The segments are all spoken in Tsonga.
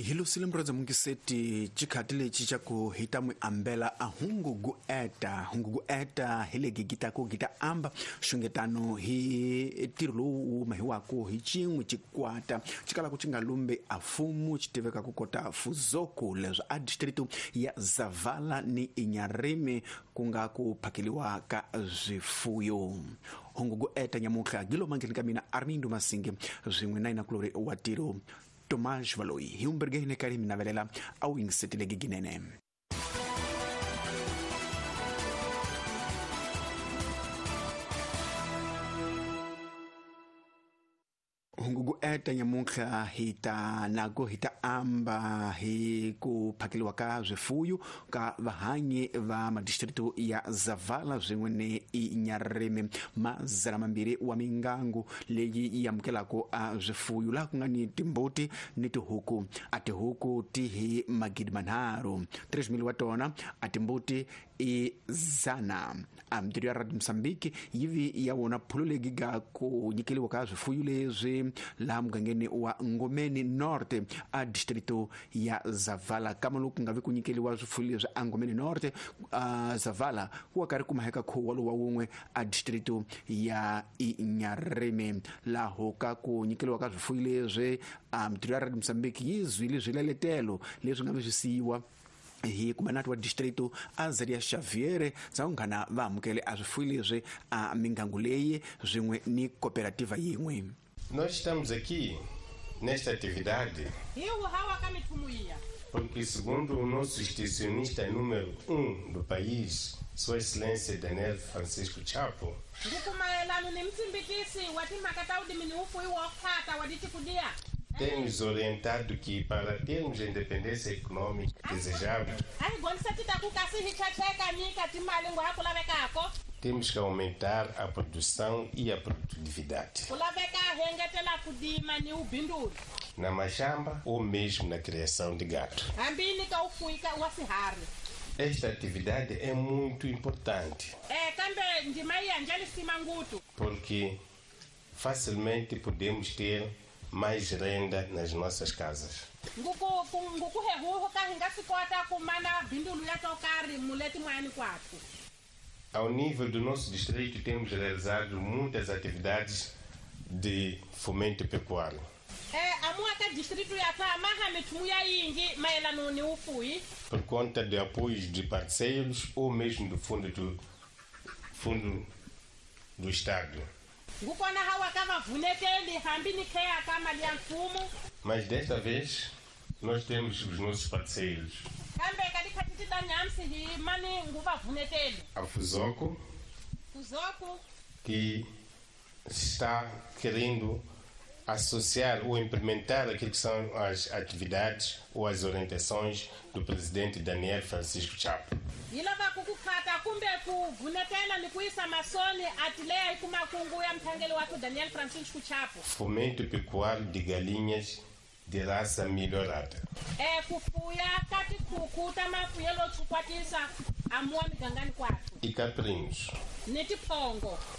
Hi lusile murhandza mungiseti xikhati lexi xa ku hi ta n'wi ambela a hungu gu eta hungu gu eta hi le gigita ku gita amba xungetano hi ntirho lowu wu mahiwaku hi xin'we xikwata xi kalaka xi nga lumbi a fumu xi tiveka ku kota fuzoku leswi a district ya Zavala ni Inyarimi ku nga ku phakeliwa ka swifuyo. Hungu gu eta nyamuntlha gilo mangheni ka mina Armindo Masingi swin'we na yinakulori wa tiro Tomás Valoyi hi umberge hine kari mi navelela a wu yingisetile giginene. Hungu ku eta nyamuntlha hi ta nako hi ta amba hi ku phakeliwa ka swifuyo ka vahanyi va madistritu ya Zavala swin'we ni Inyarimi mazana mambirhi wa mingangu leyi yi amukelaka a swifuyo laha ku nga ni timbuti ni tihuku. A tihuku ti hi 3,000 3,000 wa tona, a timbuti i 100. A mintirho ya Radio Mozambique yi vi ya wona phulo leyi ga ku nyikeliwa ka swifuyo leswi laha mugangeni wa Ngomeni Norte a distrito ya Zavala. Kama loku nga vi ku nyikeliwa swifuyo leswi a Ngomeni Norte a Zavala ku wa karhi kuma heka khuwa lowa wun'we a distrito ya Inyarimi. Laho ka ku nyikeliwa ka swifuyo leswi a mintirho ya Radio Mozambique yi zwile swileletelo leswi nga vi swi siyiwa hi kumanati wa distrito Azaria Xavier za unghana va amukele a swifuyo leswi a mingangu leyi swin'we ni cooperativa yin'we. Nós estamos aqui nesta atividade porque, segundo o nosso extensionista número 1 do país, Sua Excelência Daniel Francisco Chapo, tem nos orientado que, para termos a independência econômica desejável, temos que aumentar a produção e a produtividade. Na machamba ou mesmo na criação de gado. Esta atividade é muito importante. Porque facilmente podemos ter mais renda nas nossas casas. Ao nível do nosso distrito, temos realizado muitas atividades de fomento pecuário. Por conta de apoios de parceiros ou mesmo do fundo do Estado. Mas desta vez, nós temos os nossos parceiros. A Fuzoco, que está querendo associar ou implementar aquilo que são as atividades ou as orientações do presidente Daniel Francisco Chapo. Fomento pecuário de galinhas de raça melhorada. E caprinos.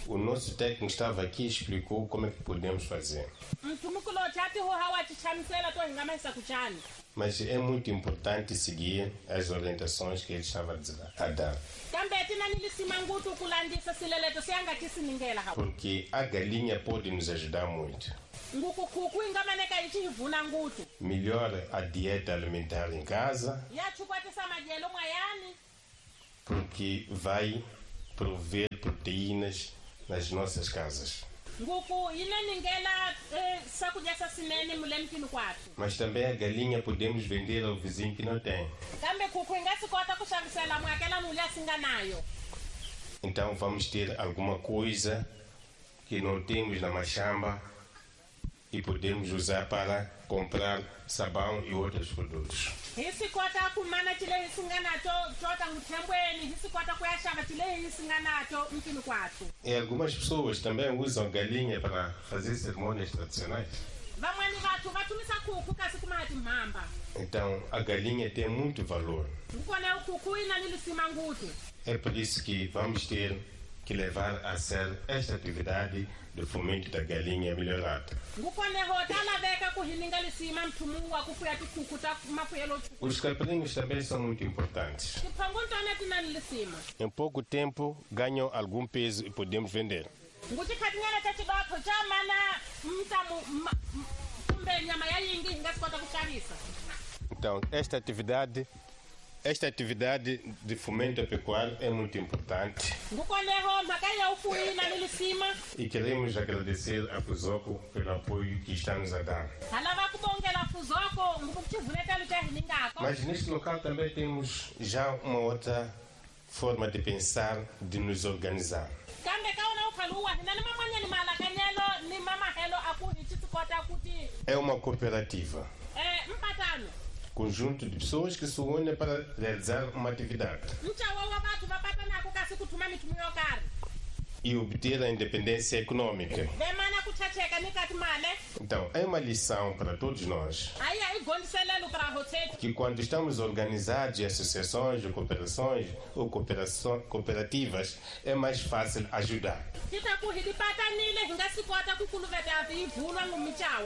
O nosso técnico estava aqui e explicou como é que podemos fazer. Mas é muito importante seguir as orientações que ele estava a dar. Porque a galinha pode nos ajudar muito. Melhora a dieta alimentar em casa, porque vai prover proteínas nas nossas casas. Mas também a galinha podemos vender ao vizinho que não tem. Então vamos ter alguma coisa que não temos na machamba e podemos usar para comprar sabão e outros produtos. E algumas pessoas também usam galinha para fazer cerimônias tradicionais. Então a galinha tem muito valor. É por isso que vamos ter que levar a sério esta atividade do fomento da galinha melhorada. Os caprinos também são muito importantes. Em pouco tempo ganham algum peso e podemos vender. Então, esta atividade de fomento pecuário é muito importante. E queremos agradecer a Fuzoco pelo apoio que está nos a dar. Mas neste local também temos já uma outra forma de pensar, de nos organizar. É uma cooperativa. Conjunto de pessoas que se unem para realizar uma atividade e obter a independência econômica. Então, é uma lição para todos nós que quando estamos organizados em associações, ou cooperações ou cooperativas, é mais fácil ajudar.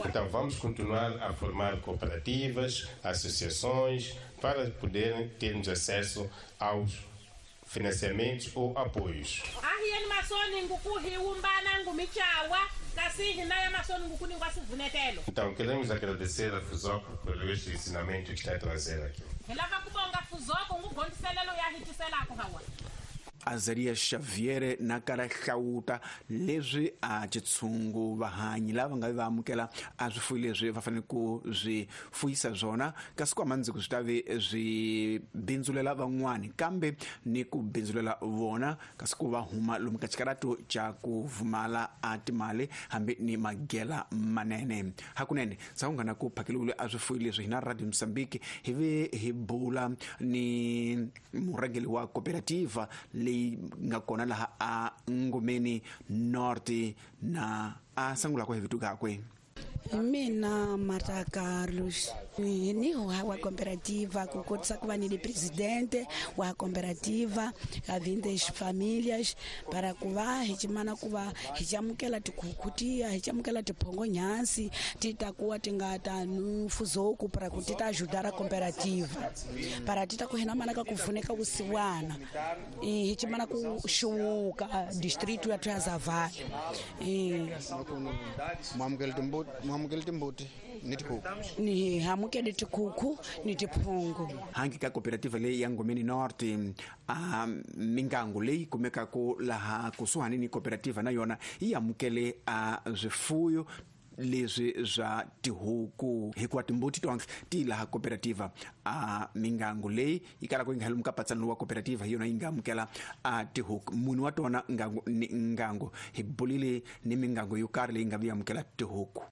Então, vamos continuar a formar cooperativas, associações, para poderem termos acesso aos financiamentos ou apoios. Então, queremos agradecer a Fuzoco pelo este ensinamento que está a trazer aqui. Azaria Xavier na kara hlawuta leswi a tshungu vahanyi lava nga va amukela a swifuyi leswi va fanele ku swi fuyisa swona kasi ku amandziko swi ta ve swi bindzulela van'wani kambe ni ku bindzulela vona kasi ku va huma lomu ka xikarato xa ku vumala a timali hambi ni magela manene hakunene sawungana ku phakeliwile a swifuyi leswi hina Radio Mozambique hi ve hi bula ni murhangeri wa cooperativa leyi nga kona laha a Ngomeni North na a sangula kwa vito kakwe. Mina Marta Carlos ni wa cooperativa ku kotisa ku va ni presidente wa cooperativa ya 20 famílias para ku va hi chimana ku va hi chamukela tikhukhu tiya hi chamukela tiphongo nyansi ti ta kuwa ti nga ta Fuzoco para ku ti ta ajudar a cooperativa para ti ta ku hina mana ka ku pfuneka vusiwana hi chimana ku xuwuka distrito ya Zavala mwamukela timbuti ni tikhukhu ni hamukele tikhukhu ni tiphongo hangi ka cooperativa leyi ya Ngomeni North a mingangu leyi kumekaka laha kusuhani ni cooperativa na yona yi amukele a swifuyo leswi swa tihuku hikuva timbuti tonke ti laha cooperativa a mingangu leyi yi kalaka yi nga lomu ka patsano wa cooperativa hi yona yi nga amukela a tihuku munhu wa tona ngangu ni ngangu hi bulile ni mingangu yo karhi leyi nga vi amukela tihuku.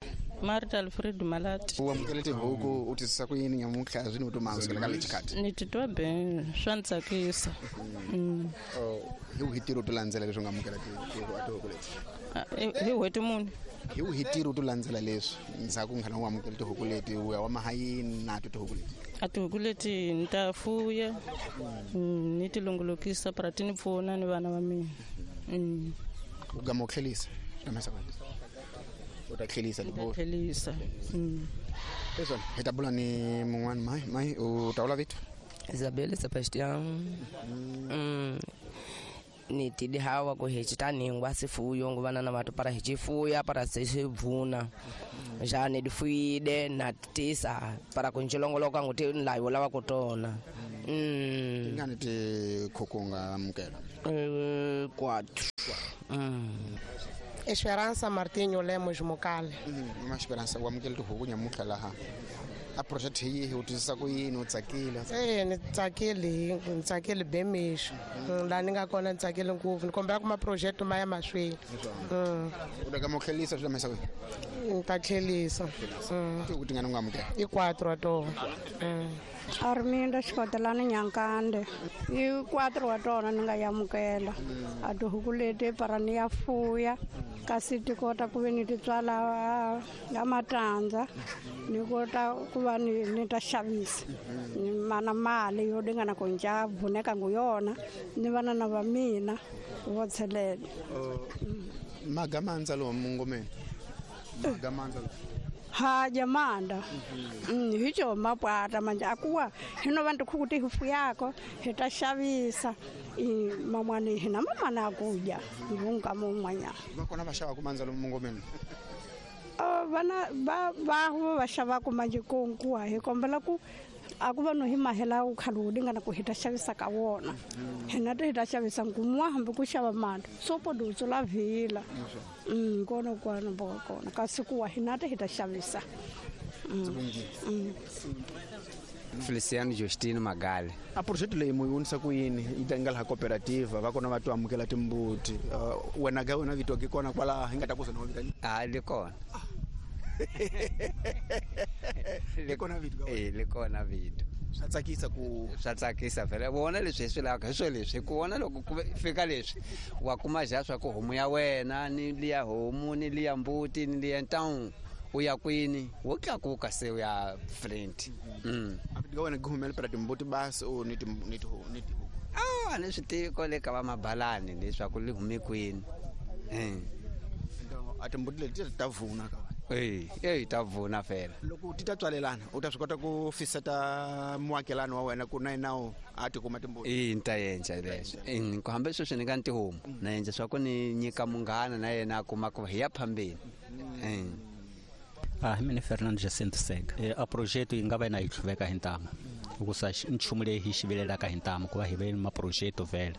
Marta Alfredo Malati. U amukele tihuku u twisisa ku yini nyamuntlha swi ni u to ka lexi khati? Ni titwa ben swa ni tsakisa. Hi wihi ntirho to landzela leswi u nga amukela tihuku leti? Hi n'hweti muni? Hi wihi ntirho to landzela leswi ndzhaku nghana u amukela tihuku leti u ya wa mahayini na to tihuku leti? A tihuku leti ni ta fuya ni ti longolokisa para ti ni pfuna ni vana va mina. U gama u tlhelisa u ta tlhelisa tlhelisa. Leswi hi ta bula ni mun'wana mai mai u ta vula vito? Isabel Sebastian. Ni tidi hawa ku hi chitaningwa sifuyo nguvana na vatu para hi chifuya para sivuna ja ni difuyide na tisa para kunjilongoloka nguti nlayo lava kutona. Tingani tikhukhu nga amukela? 4. Esperança Martinho Lemos Mokale. Mama Esperança u amukele tihuku nyamuntlha laha a project hi u twisisa ku yini u tsakile? Ni tsakile, ni tsakile bemixo laha ni nga kona ni tsakile ngopfu ni kombela ku ma project ma ya mahlweni. U ta kama u tlhelisa swi lamisa kwihi? Ni ta tlhelisa. Tihuku tingani u nga amukela? I 4 wa tona. Arminda Xikotelani Nyankande i 4 wa tona ni nga yamukela a tihuku leti para ni ya fuya Kasi ti kota ku ve ni ti tswala ya matandza ni kota ku va ni ta xavisa ni mana mali yo dingana ku nja vuneka ngu yona ni vana na va mina vo tshelela. Magamandza lo mungomeni magamandza ha jamanda hicho mapwata manje akuwa hino vantu khukuti hufu yako hita xavisa mamwani hina mamana akuja ngunga mumwanya vakona va xava kumandza lo mungomeni vana va va xava ku manje konkuwa hi kombela ku akuva no hi mahela u khalu dingana ku hita xavisa ka wona hina ti hita xavisa ngumwa hambi ku xava mali sopo dutso la vila kona kwana bo kona kasi kuwa hina ti hita xavisa. Feliciano Justino Magali. A projeto leyi mu yunisa ku yini yi ta nga laha cooperativa va kona va to amukela timbuti wena ga wena vito ke kona kwala hi nga ta ku zona vitani a li kona le kona vito le kona vito swa tsakisa ku swa tsakisa vele vona leswi hi swi lavaka hi swo leswi ku vona loko ku fika leswi wa kuma ja swa ku homu ya wena ni liya homu ni liya mbuti ni liya ntawu u ya kwini wo tlakuka se u ya front. A wena gumela para timbuti basi o ni ni a ni swi tivi ko le ka va mabalani leswaku li hume kwini. A timbuti leti ta vuna ka ta vuna fela loko ti ta tswalelana u ta swi kota ku fiseta muakelani wa wena ku na yena a ti kuma timbuti. Ni ta endla leswo ku hambi sweswi ni nga ni tihomu na endla swa ku ni nyika munghana na yena a kuma ku hi ya phambeni. Mina Fernando Jacinto Sega. A projeto yi nga va na yi tlhuveka hi ntamu hikusa nchumu leyi hi xivilelaka hi ntamu ku va hi ve maprojeto vhele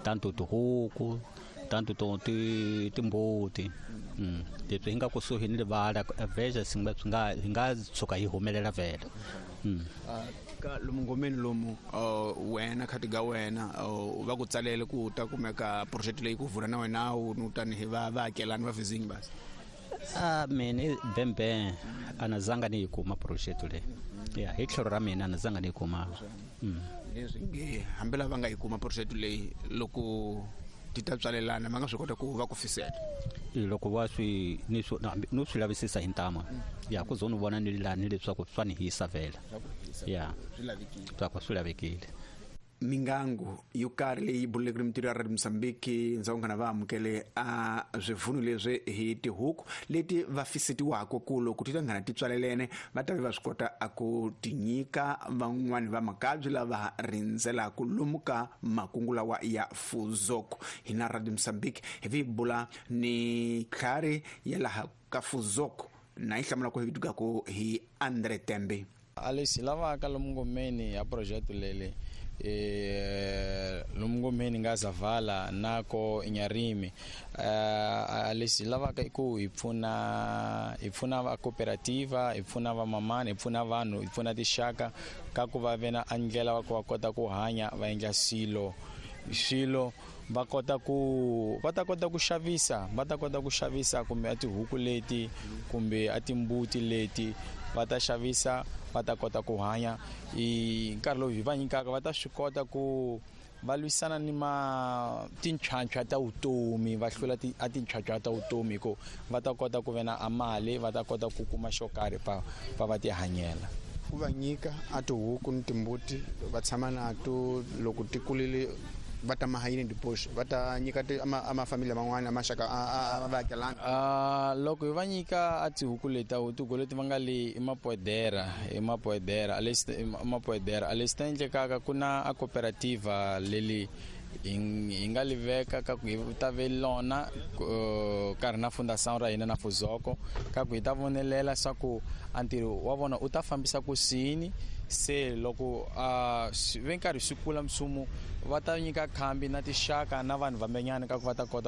tanto tihuku tanto to timbuti leswi hi nga kusuhi ni livala veja swi nga hi nga tshuka hi humelela vhele. Ka lomu ngomeni lomu wena khati ga wena va ku tsalele ku ta kumeka project leyi ku vula na wena u tanihi va vaakelani va vizingi basi. Mina bembe a na zanga ni yi kuma project leyi ya hi tlhelo ra mina a na zanga ni yi kuma. Leswi nge hambi lava nga yi kuma project leyi loko ti ta tswalelana va nga swi kota ku va ku fisela loko va swi ni swi no swi lavisisa hi ntama ya ku zo ni vona ni lani leswaku swa ni hisa vhela ya swi lavekile. Mingangu yo karhi leyi buleke mintirho ya Radio Mozambique ndzhaku ngana va amukele a swivunu leswi hi tihuku leti va fisetiwaka ku loko ti ta nghana ti tswalelene va ta va swi kota a ku ti nyika van'wani va makabyi lava rindzelaka lomu ka makungu lawa ya Fuzoko. Hina Radio Mozambique hi vi bula ni tlhari ya laha ka Fuzoko na yi hlamula ku hi vitukaku hi Andre Tembe. A leswi lavaka lomu ngomeni ya projeto leli lomungomeni nga Zavala nako Inyarimi lexi lavaka i ku hi pfuna va cooperativa hi pfuna va mamani hi pfuna vanhu hi pfuna tixaka ka ku va ve na ndlela wa ku va kota ku hanya va endla swilo va kota ku va ta kota ku xavisa va ta kota ku xavisa kumbe a tihuku leti kumbe a timbuti leti va ta xavisa va ta kota ku hanya hi nkarhi lowu hi va nyikaka va ta swi kota ku va lwisana ni ma tinchwanchwa ta vutomi va hlula a tinchwanchwa ta vutomi hi ku va ta kota ku ve na a mali va ta kota ku kuma xo karhi va ti hanyela. Ku va nyika a tihuku ni timbuti va tshama na to loko ti kulile va ta mahayini dipoxo va ta nyika a mafamili man'wana maxaka a vaakelani. Loko hi va nyika a tihuku leti tihuku leti va nga le i mapoedera a lexi ta endlekaka ku na a cooperativa leli hi nga li veka ka ku hi ta ve lona karhi na fundação ra hina na Fuzoko ka ku hi ta vonelela swa ku a ntirho wa vona u ta fambisa ku sini se loko ve nkarhi swi kula msumo va ta nyika khambi na tixaka na vanhu vambenyana ka ku va ta kota